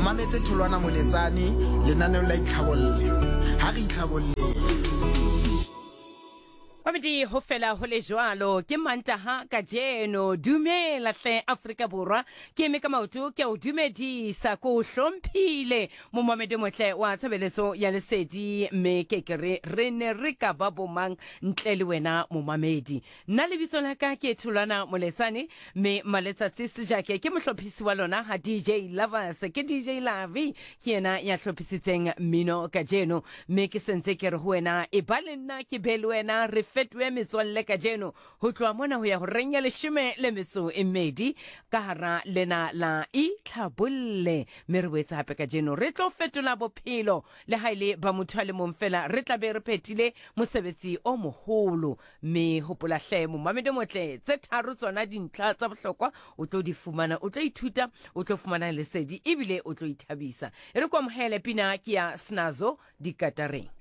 mametse Tholwana Moletsane lenaneong la Itlhabolle. Ha re itlhabolleng. Mamedi ho fela ho le jwalo ke Mantaha kajeno. Dumela hle Afrika Borwa. Ke eme ka maoto ke a o dumedisa ko o hlomphile momamedi motle wa tshebeletso ya lesedi mme ke ke re re ne re ka ba bomang ntle le wena momamedi. Nna lebitso la ka ke Tholwana Moletsane mme Maletsatsi Sejake ke mohlophisi wa lona ha DJ Lovers ke DJ Lavi ke yena ya hlophisitseng mmino kajeno mme ke sentse ke re ho wena e ba le nna ke be le wena re fetohe metswalle kajeno ho tloha mona ho ya horeng ya leshome le metso e mmedi ka hara lena la itlhabolle mme re boetse hape kajeno re tlo fetola bophelo le ha e le ba motho a le mong fela re tla be re phethile mosebetsi o moholo Mme hopola hle momamedi motle, tse tharo tsona dintlha tsa bohlokwa o tlo di fumana, o tlo ithuta, o tlo fumana lesedi ebile o tlo ithabisa. E re ko amohele pina ke ya Snazo dikatareng.